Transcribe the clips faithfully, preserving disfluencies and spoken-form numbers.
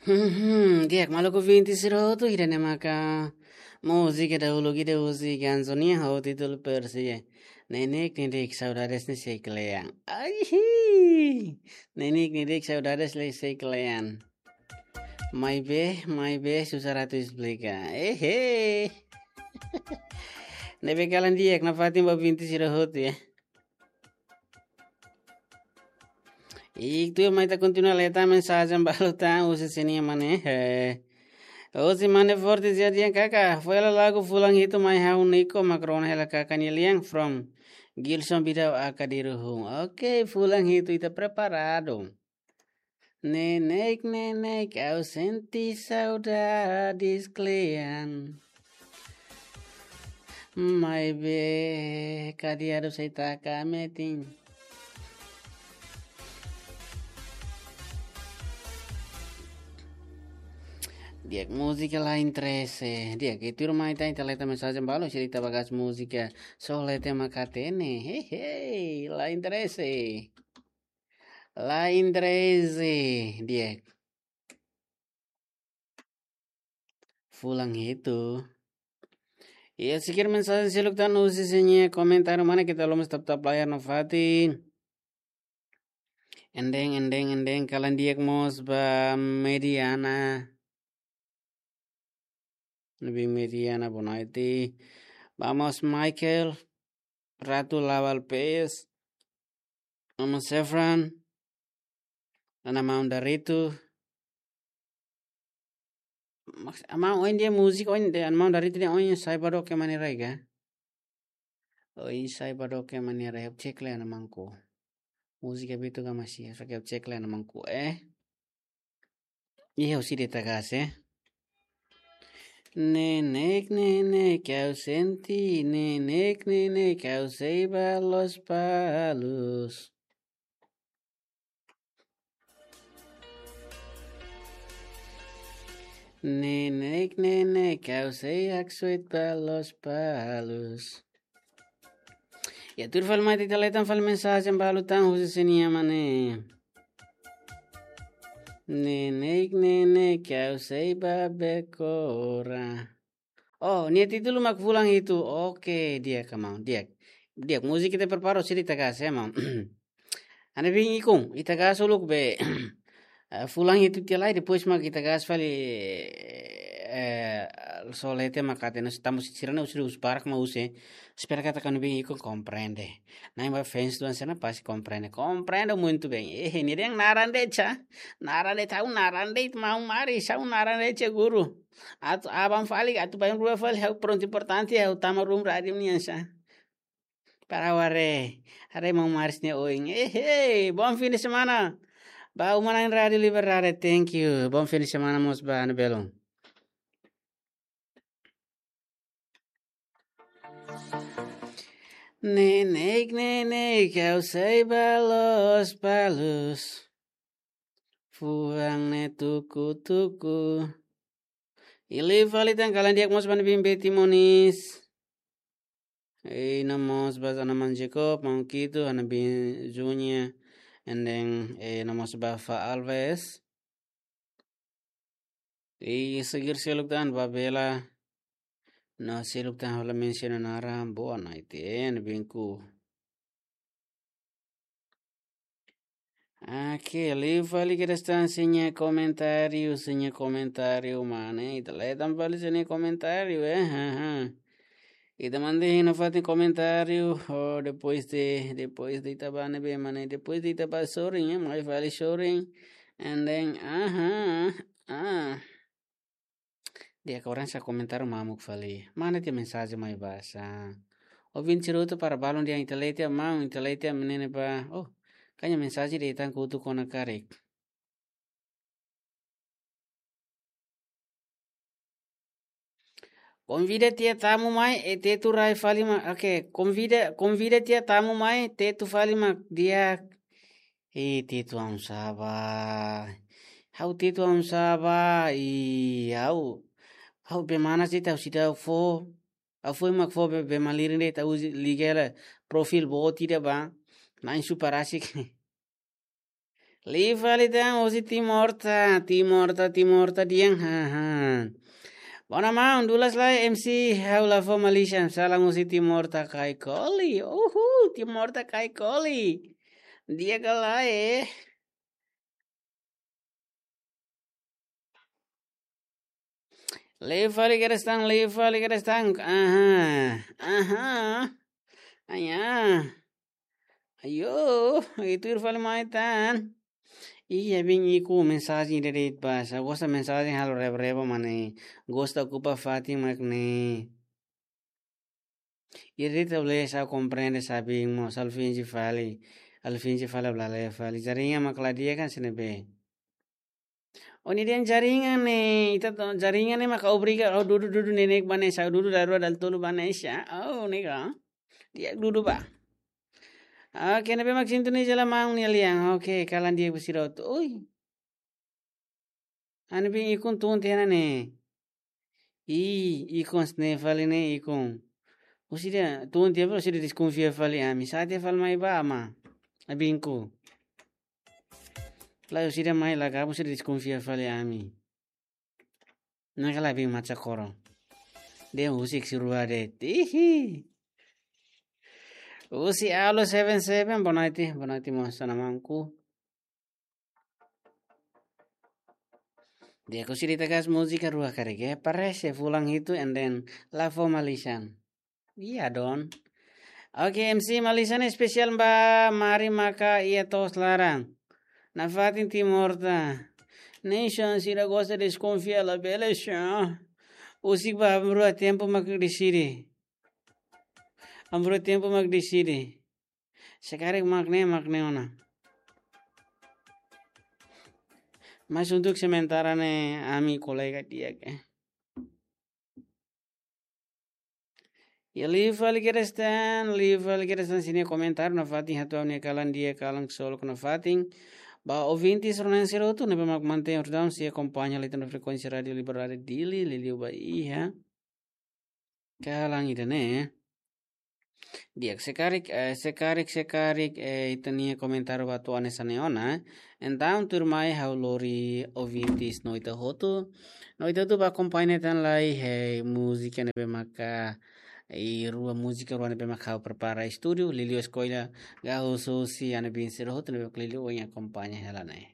Mhm, di'ak, maluk ouvinte sira hotu, ida-ne'e maka múzika dahuluk ida husi Ganzo nian ho títulu Persia. Neineik neineik saudades ne'e sei kle'an. Ai, hi. Neineik neineik saudades ne'e sei kle'an. Maibé, maibé, susar atu esplika. Ehe. Ne'ebé kalan di'ak nafatin ba ouvinte sira hotu, ya. I tuir mai ita kontinua lee tan mensajen balu tan husi sira-nia mane. He. Husi mane Forte Jardim kaka. Foin hela lagu fulan hitu mai ha'u Nico Macron hela kaka nia lian from Gilson Bidau aka Diruhun. Oke, fulan hitu ita preparadu. Neineik, neineik, ha'u sente saudades kle'an. Maibé, kadi'adu sei taka metin. Di'ak, múzika la interese. Di'ak, i tuir mai ita, ita lee tan mensajen balu, sira ita bagas múzika. Só lee tan mak hatene. Hei, hei, la interese. La interese, di'ak. Fulan hitu. Iha sekian mensajen seluk tan husi sira-nia komentáriu, mana ita la'o mós tap-tap layar nafatin. Endeng, endeng, endeng, kalan di'ak mós ba Mediana. Ne'ebé Mediana Bonaiti. Vamos, Michael. Ratu Lawal P S. Vamos, Sefran. Ana maun Daritu. Mas, maun oin dia múzika, oin dia, ana maun Daritu dia oin sai ba doke mane rega. Oin sai ba doke mane rega. Cek le ana mangku. Múzika bitu ka masih, só ke cek le ana mangku, eh. Ih, ha'u sei de'it ita gas, eh. Neineik, neineik, ha'u sente, neineik, neineik, ha'u sei ba Lospalos. Neineik, neineik, ha'u sei haksoit ba Lospalos. Ya, tuir fali mai ita lee tan fali mensajen balu tan husi sira-nia mane. Neineik, neineik, ha'u sei ba Becora. Oh, nia títulu mak fulan hitu. Oke, di'ak ka maun, di'ak. Di'ak, múzika ita prepara, sira ita gas, ya, maun. Ana bin ikun, ita gas uluk be. Eh, fulan hitu tiha lai, depois mak ita gas fali, eh, só lee tan mak hatene, no estamos sira-ne'e husi, husi barak mak husi. Espera katak ana bin ikun komprende. Na'in ba fans tuan sana pasti komprende. Komprende muito bem. Eh, nia dehan naran de'it, naran de'it, ha'u naran de'it, maun Maris, ha'u naran de'it, guru. Atu aban fali, atu bainrua fali, ha'u prontu importante, ha'u tama room rádiu nian sa. Para haree, haree maun Maris nia oin. Eh, hey, bom fim de semana. Ba uma na'in Rádiu Liberdade, thank you. Bom fim de semana mós ba Ana Belon. Neineik, neineik, ha'u sei ba Lospalos. Fuan ne'e tuku-tuku. I liu fali tan kalan di'ak mós ba ana bin Betty Moniz. Ei, no mós ba ana maun Jacob, maun Kito, ana bin Junior, and then, eh, no mós ba Fa Alves. I sekian seluk tan ba Bela. No seluk tan ha'u la mensiona naran, boa noite, eh, ana binku. Oke, liu fali kedas tan sira-nia komentáriu, sira-nia komentáriu, mane, ita lee tan fali sira-nia komentáriu, eh, ha, ha. Ita mantén nafatin komentáriu, oh, depois de, depois de ita ba ne'ebé, mane, depois de ita ba sorin, eh, mai fali sorin, and then, aha, ah. Di'ak, agora sira komentáriu mamuk fali. Mane tiha mensajen mai basa. Ouvinte sira hotu para balun di'ak, ita lee tiha maun, ita lee tiha menene ba. Oh, karik mensajen de'it tan kutu kona karik. Konvida tiha tamu mai, eh, tetu rai fali mak, oke, konvida, konvida tiha tamu mai, tetu fali mak di'ak. Eh, tetu aun sá ba. Ha'u tetu aun sá ba, i ha'u. Ha'u be mana sei tau sida fó. Ha'u foin mak fó be, be malirin de'it, ha'u liga hela perfil boot ida ba. Na'in super asik. Liu fali tan husi Timor ta, Timor ta, Timor ta di'ak, haha. Bona maun, dulas lai M C ha'u la fó Malaysia, salam husi Timor ta Kaikoli. Uhu, Timor ta Kaikoli. Di'ak ka lae. Liu fali kedas tan, liu fali kedas tan. Aha, aha. Aya. Ayo, ita tuir fali mai tan. Iya, bin iku mensajen ida de'it basa. Gosta mensajen halo reba-reba mak ne'e. Gosta okupa fatin mak ne'e. Ida de'it ha'u la komprende sabi mo, ha'u finje fali. Ha'u finje fali, ha'u la lee fali. Jaringan mak la di'ak ka sira-ne'ebé. Ó-nia dehan jaringan ne'e, ita to jaringan ne'e maka obriga ó dudu, dudu neineik ba ne'e, sa'e dudu daruak dala tolu ba ne'e sá. Oh, ne'e ka. Di'ak dudu ba. Oke, ne'ebé mak sintoniza hela maun nia lian. Oke, kalan di'ak ba sira hotu. Oi. Ha'u-nia bin ikun tun tiha ona ne'e. Ih, ikun sne fali ne'e ikun. Husi ida tun tiha fali, husi ida deskonfia fali ami. Sa'e tiha fali mai ba ama. Abinku. Lae, husi ida mai la gabung, husi ida deskonfia fali ami. Ne'e ka lae bin Macha Koro. Dehan husik sira rua de'it. Ihi. Husi Alo seven seven, boa noite, boa noite, mosa na mangku. Di'ak, husi ida ita gas múzika rua karik, eh. Parese fulan hitu and then la fó Malaysian. Iya, Don. Oke, M C Malaysian espesiál ba, mari maka iha to'os laran. Nafatin Timor ta. Nation sira gosta deskonfia labele sá. Husik ba, ami rua tempu mak deside. Ami rua tempu mak deside. Se karik mak ne'e, mak ne'e ona. Mas untuk sementara ne'e, ami kolega di'ak, eh. Iha liu fali kedas tan, liu fali kedas tan sira-nia komentáriu nafatin, hato'o ha'u-nia kalan di'ak, kalan ksolok nafatin. Ba ouvintes rona sira hotu ne'ebé mak mantein ordaun sei akompaña liután frekuénsia Rádiu Liberdade Dili, liuliu ba iha kalan ida-ne'e. Di'ak, se karik, eh, se karik, se karik, eh, ita-nia komentáriu ba to'o hanesan ne'e ona, eh. Entaun tuirmai ha'u lori ouvintes no ita hotu. No ita hotu ba akompaña tan lai, eh, múzika ne'ebé maka, eh, rua múzika rua ne'ebé maka ha'u prepara estúdiu, liuliu eskolla gahus husi ha'u-nia bin sira hotu ne'ebé maka liuliu ohin akompaña hela ne'e.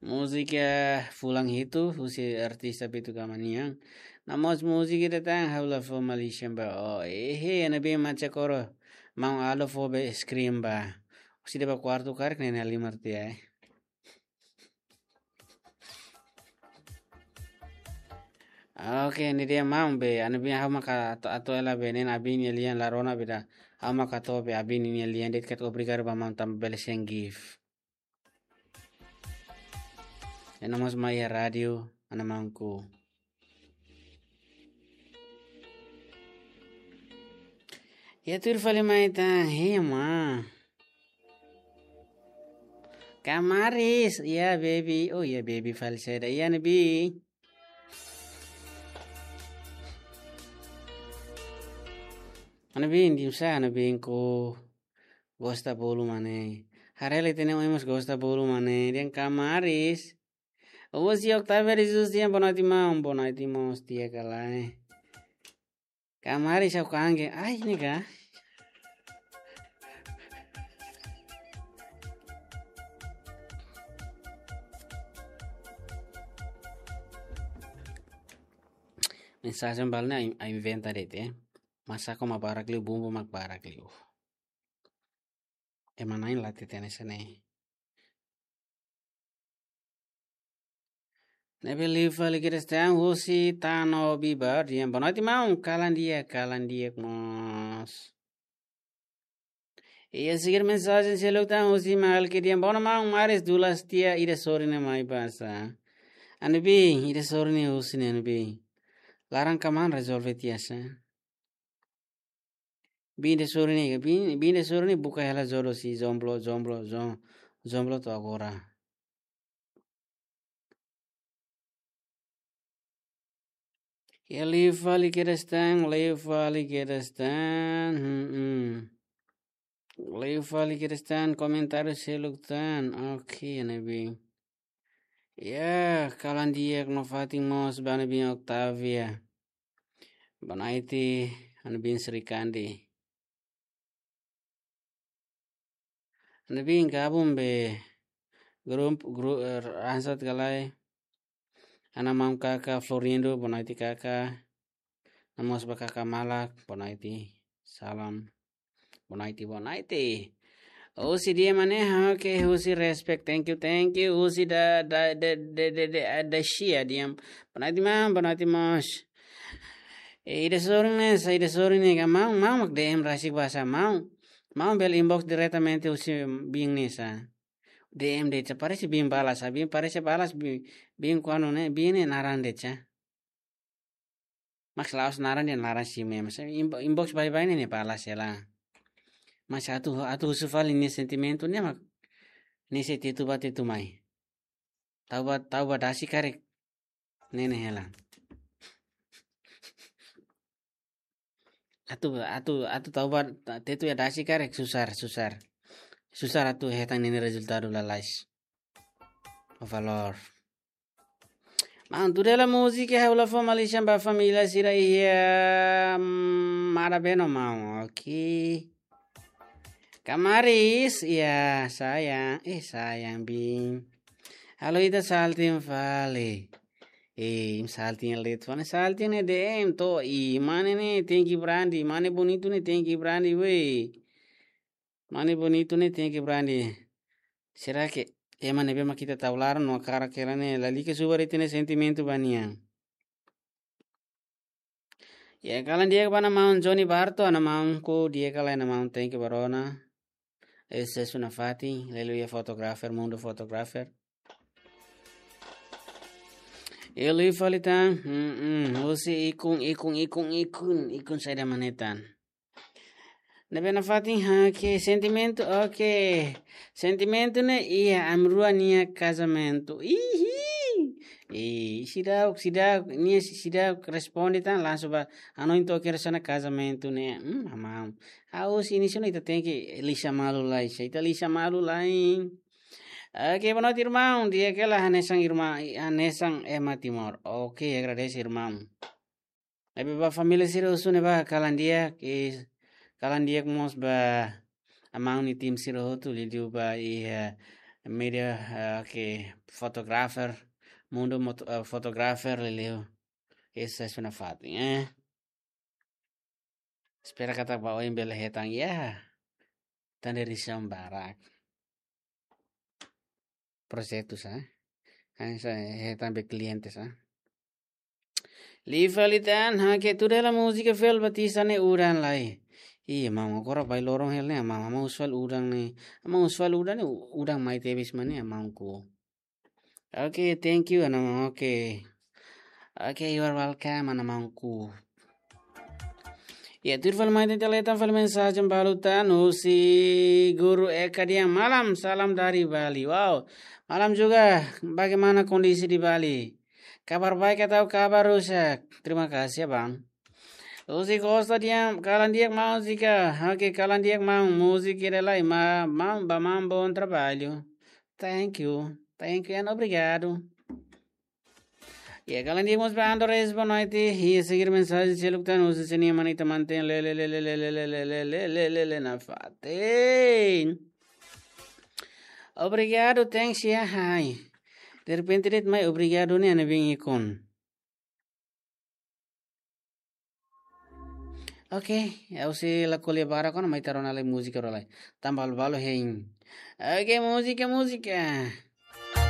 Múzika fulan hitu, husi artista Beto Gama nian. Namoos múzika ida tan, ha'u la fó Malaysian ba ó. Ehe, ha'u-nia bin Macha Koro. Maun Alo fó be screen ba. Husi ida ba kuartu karik ne'e halimar tiha, eh. Oke, ne'e de'it maun be. Ha'u-nia bin ha'u maka atu, atu hela be ne'e abin nia lian la rona be ida. Ha'u maka atu be abin nia lian de'it karik, obrigadu ba maun tanba bele send gift. Ena mós mai iha rádiu, ana mangku. Iha tuir fali mai tan, hema. Kamaris, iha baby, oh iha baby fali saida, iha ne'ebé. Ana bin, dimsa, ana bin ko. Gosta bolu mane. Haree lai ita-nia oin mós gosta bolu mane. Dehan kamaris. Husi Octavia de Jesus dehan boa noite maun, boa noite maun, di'ak ka lae. Kamaris ha'u kangge. Ai, ne'e ka. Mensajen balu ne'e ai, ai inventa de'it, eh. Masaku mak barak liu, bumbu mak barak liu. Ema na'in la hatene hanesan ne'e. Ne'ebé liu fali kedas tan husi Tano Bibar, dehan boa noite maun, kalan di'ak, kalan di'ak mós. Iha seguir mensajen seluk tan husi Malki dehan boa noite maun, maris dulas tiha ida sorin ne'e mai basa. Ana bin, ida sorin ne'e husi ne'e ana bin. Laran kmaan rezolve tiha sá. Bin ida sorin ne'e, bin, bin ida sorin ne'e buka hela jodoh si jomblo, jomblo, jom-, jomblo to'o agora. Iha liu fali kedas tan, liu fali kedas tan. Hmm, hmm. Liu fali kedas tan, komentáriu seluk tan. Oke, ne'ebé. Ya, kalan di'ak no fatin mós ba ne'ebé Octavia. Boa noite, ne'ebé Sri Kandi. Ne'ebé gabung be grupu, gru-, eh, Ransat Galai. Ana maun kaka Florindo, boa noite kaka. No mós ba kaka Malak, boa noite. Salam. Boa noite, boa noite. Husi di'ak mana, ha, oke, husi respect, thank you, thank you. Husi da, da, da, da, da, da, da, sia di'ak. Boa noite, maun, boa noite, mós. E ida sorin ne'e, sa ida sorin ne'e, ka maun, maun mak D M rasik ba sá, maun. Maun bele inbox diretamente husi biin ne'e sá. D M de'it sá, parese biin balas sá, biin parese balas, biin, biin kuandu ne'e, biin ne'e naran de'it sá. Mas la'ós naran de'it, naran si me, mas inbo-, inbox baibain ne'e, ne'e balas hela. Mas atu, atu husu fali nia sentimentu ne'e mak, ne'e sei tetu ba tetu mai. Tau ba, tau ba dasi karik. Ne'e ne'e hela. Atu, atu, atu tau ba, ta-, tetu iha dasi karik susar, susar. Susar atu hetan ne'e nia rezultadu lalais. O valór. Maun, tuir hela múzika, ha'u la fó malisan ba família sira iha, mm, Marabeno, maun. Oke. Kamaris, ya, sayang. Eh, sayang, biin. Halo ita salting fali. Eh, salting leet fali, salting ne'e D M to'o, i, mane ne'e tenke brandi, mane bonitu ne'e tenke brandi, wei. Mane bonitu ne'e tenke brandi. Será que ema ne'ebé mak ita tau laran no hakarak hela ne'e lalika subar ita-nia sentimentu ba nia? Ya, kalan di'ak ba ana maun Johnny Barto, ana maunku, di'ak ka lae ana maun, thank you ba rona. Ese suna fatin, aleluia, fotografer, mundu fotografer. Liu fali tan, mm, mm, husi ikun, ikun, ikun, ikun, ikun saida mak ne'e tan. Ne'ebé nafatin, ha, oke, sentimentu, oke. Sentimentu ne'e iha ami rua nia kazamentu. Ihi. Ih, seidauk, seidauk, nia seidauk responde tan langsung ba, hanoin to'o kedas ona kazamentu ne'e. Hmm, amam. Ha'u husi inísiu ne'e ita tenke lisan malu lai, se ita lisan malu lai. Oke, boa noite, irmaun. Di'ak hela hanesan irmaun, hanesan ema Timor. Oke, agradese, irmaun. Ne'ebé ba família sira husu ne'e ba kalan di'ak, i kalan di'ak mós ba amam nia tim sira hotu, liuliu ba iha, eh, media, eh, ke fotografer, mundu mot-, eh, fotografer, liuliu. Ese suna fatin, eh. Espera katak ba oin bele hetan, ya. Tan dari siang barak. Projetu sá. Hanesan hetan be kliente sá. Liu fali tan, ha, ke tuir hela múzika Fel Batista ne'e udan lai. Ih, maun, agora ba loron hela ne'e, maun, maun husu fali udan ne'e. Maun husu fali udan ne'e, u-, udan mai tebes mak ne'e, maunku. Oke, thank you, ana maun. Oke. Oke, you are welcome, ana maunku. Ya, tuir fali mai ita hetan fali mensajen balu tan husi Guru Eka dehan, malam, salam dari Bali. Wow, malam juga, bagaimana kondisi di Bali? Kabar baik atau kabar rusak? Terima kasih, Abang. Husi Costa dehan, kalan di'ak maun Zika. Oke, kalan di'ak maun, múzika ida lai, ma-, maun, ba maun, bom trabalho. Thank you. Thank you and obrigado. Ya, kalan di'ak mós ba Andres, boa noite. Iha seguir mensajen seluk tan husi sira-nia mana ita manten le, le, le, nafatin. Obrigado, thanks, ya, hai. Derrepente de'it mai obrigado ne'e ana bin ikun. Oke, ha'u sei la ko'alia barak ona, mai ita rona lai múzika rua lai. Tan balu-balu hein. Oke, múzika, múzika.